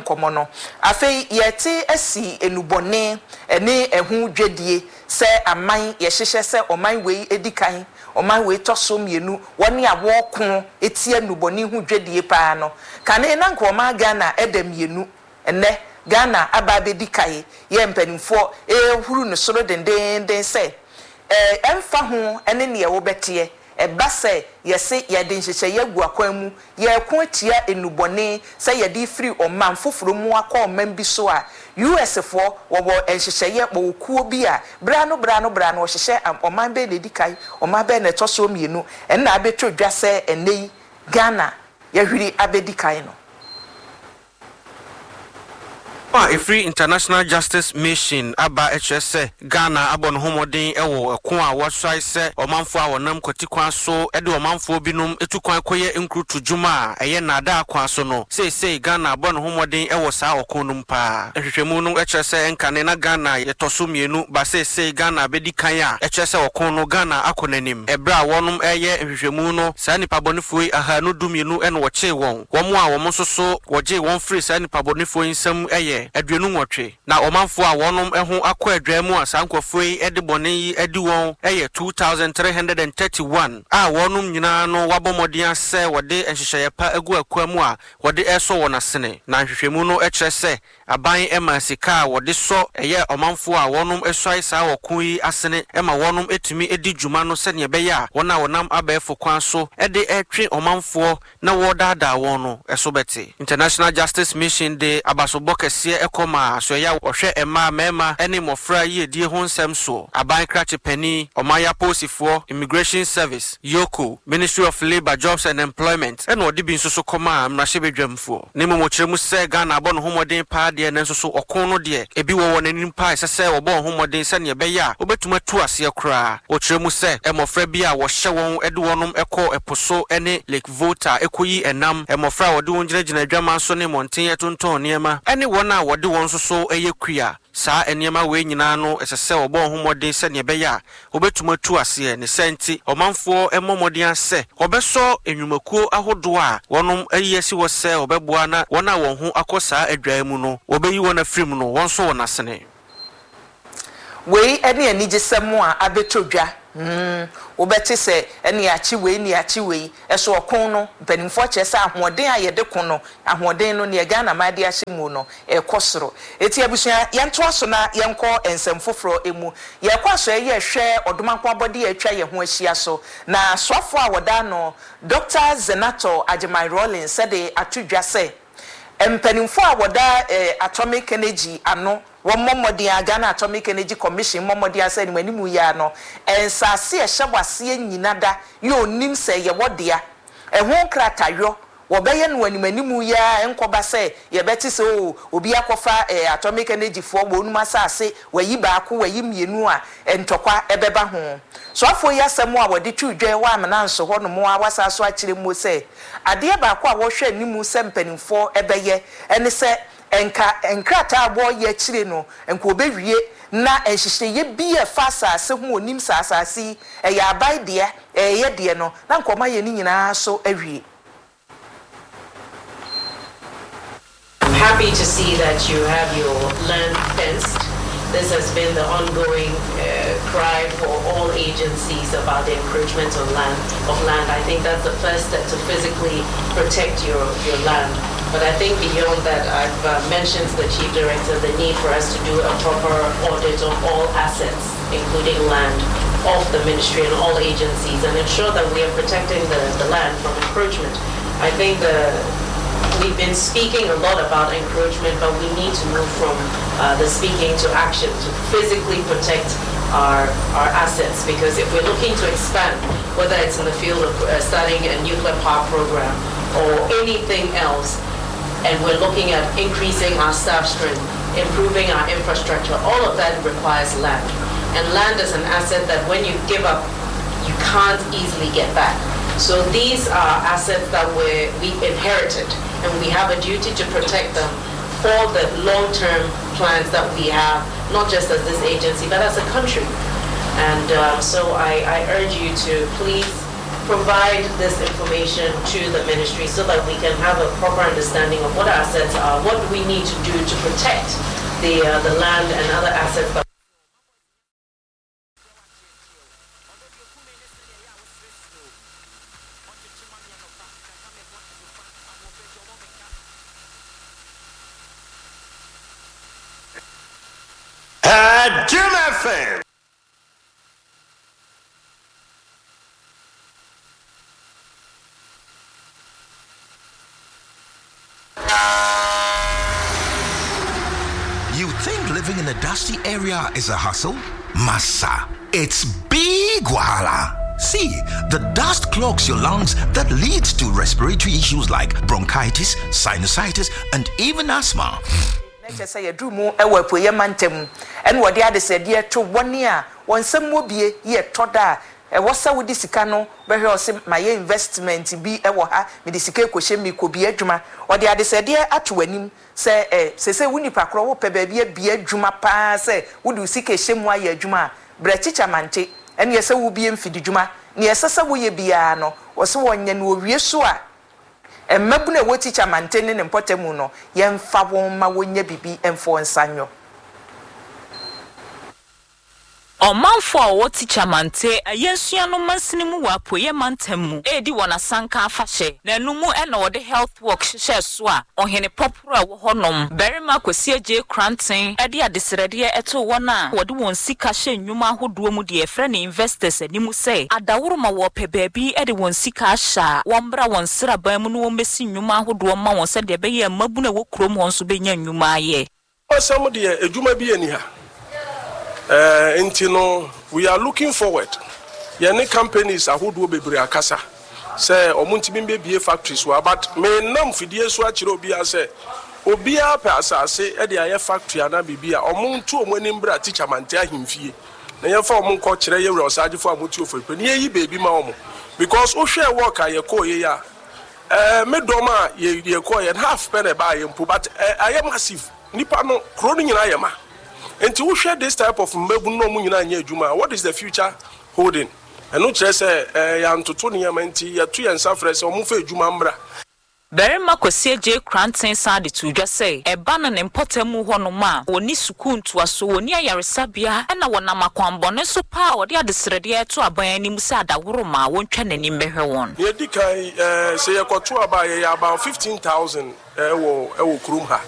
nkɔmmɔ no. Afei yɛte asi nnubɔne ne ɛho dwadie sɛ aman yɛhyehyɛ sɛ ɔman wei di kan, ɔman wei tɔ so mmienu, wɔn a wɔko tia nnubɔne ho dwadie paa no. Kane na nka ɔman Ghana da mmienu, ɛnnɛ Ghana aba abɛdi kae yɛ mpanimfoɔ rehuru no soro dendeenden sɛ ɛmfa ho ne neɛ wobɛteɛ, Ɛba sɛ yɛse yɛde nhyehyɛeɛ agu akwan mu, yɛreko atia nnubɔne sɛ yɛde refiri ɔman foforɔ mu akɔ ɔman bi so a, US foɔ wɔwɔ nhyehyɛeɛ, wɔwɔ kuo bi a berɛ ano berɛ ano berɛ ano wɔhyehyɛ ɔman bɛn na ɛdi kan, ɔman bɛn na ɛtɔ soɔ mmienu, ɛnna abɛtɔ dwa sɛ ɛnnɛ yi Ghana yɛahwiri abɛdi kan no. A ɛfiri International Justice Mission aba kyerɛ sɛ Ghana abɔ ne ho mmɔden wɔ ɛko a wɔasae sɛ ɔmanfoɔ a wɔnam kwati kwan so de ɔmanfoɔ binom tu kwan kɔyɛ nkurutu dwuma a ɛyɛ nnaadaa kwan so no. Seesei Ghana abɔ ne ho mmɔden wɔ saa ɔko no mu paa. Nhwehwɛmu no kyerɛ sɛ ɛnkane na Ghana yɛtɔ so mmienu ba seesei Ghana abɛdi kan a ɛkyerɛ sɛ ɔko no Ghana akɔ n'anim. Ɛberɛ a wɔnom reyɛ nhwehwɛmu no saa nnipa bɔnefoɔ yi ahaanu dumienu na wɔkyee wɔn. Wɔn a wɔn nso so wɔgyee wɔn firii saa nnipa bɔnefoɔ yi nsam yɛ 28, na ɔmanfoɔ a wɔnom ho akɔ adwaa mu a saa nkurɔfoɔ yi de bɔne yi adi wɔn yɛ 2,331 a wɔnom nyinaa no wɔabɔ mmɔden ara sɛ wɔde nhyehyɛeɛ pa agu akwa mu a wɔde resɔ wɔn asene. Na nhwehwɛmu no kyerɛ sɛ Aban ma sika a wɔde sɔ ɛyɛ ɔmanfoɔ a wɔnom suae saa ɔko yi asene ma wɔnom tumi di dwuma no sɛdeɛ ɛbɛyɛ a wɔn a wɔnam abɛɛfo kwan so de retwe ɔmanfoɔ na wɔredaadaa wɔn no so bɛte. International Justice Mission de abasobɔ kɛseɛ kɔ maa asoɛeɛ a wɔhwɛ mmaa, mmarima ne mmɔfra yiedie ho nsɛm soɔ, Aban Krakye Panin, Ɔman Apolisifoɔ, Immigration Service, EOCO, Ministry of Labour, Jobs and Employment ɛna ɔde bi nso so kɔmaa mmarahyɛbadwamfoɔ. Na mmom ɔkyerɛ mu sɛ Ghana abɔ ne ho mmɔden paa deɛ nanso so ɔko no deɛ ebi wɔ wɔn anim paa a ɛsɛ sɛ wɔbɔ wɔn ho mmɔden sɛdeɛ ɛbɛyɛ a wɔbɛtumi atu aseɛ koraa. Ɔkyerɛ mu sɛ mmɔfra bi a wɔhyɛ wɔn de wɔnom kɔ ɛpo so ne Lake Volta kɔyi ɛnam, mmɔfra a wɔde wɔn gyinagyina adwaman so ne mmɔnten tontɔn nneɛma ne wɔn a wɔde wɔn nso so yɛ kua. Saa nneɛma wei nyinaa no, ɛsɛ sɛ wɔbɔ wɔn ho mmɔden sɛnea ɛbɛyɛ a wɔbɛtumi atu aseɛ. Ne saa nti, ɔmanfoɔ mmɔ mmɔden ara sɛ wɔbɛsɔ nnwumakuo ahodoɔ a wɔnom ayi asi hɔ sɛ wɔbɛboa na wɔn a wɔn ho akɔ saa adwaeɛ mu no, wɔbɛyi wɔn afiri mu no, wɔnsɔ wɔn asene. Wei ne anigyesɛm a abɛtɔ dwa. Hmm, wobɛte sɛ ɛne akye wei ne akye wei. Ɛso ɔko no, mpanimfoɔ kyerɛ sɛ ahoɔden a yɛde ko no, ahoɔden no, neɛ Ghana man de ahyɛ mu no, ɛrekɔ soro. Enti abusua, yɛntoa so na yɛnkɔ nsɛm foforɔ mu. Yɛrekɔ asɔeɛ yi rehwɛ ɔdomankɔ abɔdeɛ a atwa yɛn ho ahyia so. Na soafoɔ a wɔda ano, Dɔkta Zanetor Agyemang Rawlings de ato dwa sɛ, mpanimfoɔ a wɔda Atomic Energy ano Wɔmmɔ mmɔden ara, Ghana Atomic Energy Commission mmɔ mmɔden ara sɛ anim anim yi ara no, nsaase a ɛhyɛ w'aseɛ nyina da yɛ ɔnim sɛ ɛyɛ wɔ dea. Ɛho nkratayɔ, wɔbɛyɛ no anim anim yi ara ɛnkɔba sɛ yɛbɛte sɛ oo obi akɔfa eh Atomic Energy foɔ wɔnom asaase, wayi baako, wayi mmienu a, ntɔkwa ɛbɛba ho. Soafoɔ yi asɛm a wɔde too dwa wɔ Amenanso hɔ nom ara wasan so akyerɛ muo sɛ, adeɛ baako a wɔhwɛ anim sɛ mpanimfoɔ bɛyɛ ne sɛ Nka nkrataa a wɔreyɛ akyire no, nka wɔbɛwie na nhyehyɛeɛ bi a ɛfa asase ho, wɔnim sɛ asase yi, ɛyɛ aban dea, ɛyɛ yɛ deɛ no, na nka wɔayɛ ne nyinaa so awie. I'm happy to see that you have your land fenced. This has been the ongoing cry for all agencies about the encroachment on land, of land. I think that's the first step to physically protect your, your land. But I think beyond that, I've uh, mentioned to the chief director the need for us to do a proper audit of all assets, including land, of the ministry and all agencies, and ensure that we are protecting the, the land from encroachment. I think the we've been speaking a lot about encroachment, but we need to move from uh, the speaking to action to physically protect our, our assets. Because if we're looking to expand, whether it's in the field of uh, starting a nuclear power program or anything else, and we're looking at increasing our staff strength, improving our infrastructure, all of that requires land. And land is an asset that when you give up, you can't easily get back. So these are assets that we we inherited, and we have a duty to protect them for the long-term plans that we have, not just as this agency, but as a country. And um, so I, I urge you to please provide this information to the ministry so that we can have a proper understanding of what assets are, what do we need to do to protect the, uh, the land and other assets that Jim FM. You think living in a dusty area is a hustle? Massa, it's big wahala. See, the dust clogs your lungs that leads to respiratory issues like bronchitis, sinusitis, and even asthma. Na kyerɛ sɛ yɛduru mu wɔ Apueeɛ Mantam ɛna wɔde adesrɛdeɛ to wɔn a wɔn nsam wɔ bie yɛ tɔ da a ɛwɔ sɛ wode sika no bɛhwɛ ɔse mayɛ investment bi wɔ ha mede sika rekɔhyɛ mu merekɔbie adwuma ɔde adesrɛdeɛ ato w'anim sɛ ɛ seesei wo nipa korɔ wopɛ baabi abie adwuma paa sɛ wode wo sika rehyɛ mu ayɛ adwuma a brɛ Kyikyɛ Mante ɛneɛ sɛ wobie mfididwuma neɛ ɛsɛ sɛ woyɛ biara no ɔse wɔnyɛ no ɔwie so a Mmabunu a ɛwɔ Tikya Mante ne ne mpɔtam no, yɛmfa wɔn mma wɔnyɛ biribi mfa wɔn nsa nyɔ. Ɔmanfo a wɔwɔ Tikya Mante Ayensuano no mansini mu wɔ Apueeɛ Mantam mu redi wɔn asanka afahyɛ, na ɛno mu na wɔde Health Walk hyehyɛɛ so a Ɔhene Pɔporɔ a ɛwɔ hɔnom, Barima Kwasi Agyei Koranteng de adesrɛdeɛ too wɔn a wɔde wɔn sika hyɛ nnwuma ahodoɔ mu deɛ yɛfrɛ no investors anim sɛ adaworoma wɔrepɛ baabi de wɔn sika ahyɛ a, wɔmmra wɔn nsraban mu na wɔmmɛsi nnwuma ahodoɔ mma wɔn sɛdeɛ ɛbɛyɛ a mmabunu a ɛwɔ kurom hɔ nso bɛnya nnwuma ayɛ. Asɛm deɛ adwuma bi nni ha eh, nti no we are looking forward yɛne companies ahodoɔ bebree akasa sɛ wɔn ntumi mbɛbie factories wɔ ha but me nam fidie so akyerɛ obiara sɛ obiara pɛ asase de ayɛ factory anaa biribi a wɔn nto wɔn anim bra Teacher Mante ahemfie na yɛmfa wɔn nkɔ kyerɛ yɛwura ɔsagyefo a wɔte ofori na yɛyi baabi ma wɔn because wohwɛ work a yɛkɔɔ yɛ yi a Eh me dɔm a yɛ yɛ kɔɔ yɛ no half pɛ na ɛbaa yɛ mpo but eh ayɛ massive nipa no kuro no nyinaa yɛ ma nti wo hwɛ this type of mmabunu na ɔmo nyinaa nyɛ adwuma a what is the future holding ɛno kyerɛ sɛ eh yɛantoto nneɛma nti yɛto yɛn nsa frɛ sɛ ɔmo nfa adwuma mmra. Barima Kwasi Adjei Koranteng san de too dwa sɛ, ɛba no ne mpɔtam hɔnom a, wɔnni sukuu ntoaso, wɔnni ayaresabea, ɛna wɔnam akwammɔne so paa a wɔde adesrɛdeɛ reto aban anim sɛ adaworoma a wɔntwa n'ani mmɛhwɛ wɔn. Nea edi kan, sɛ yɛkɔto aba a, yɛyɛ about 15,000 wɔ wɔ kurom ha.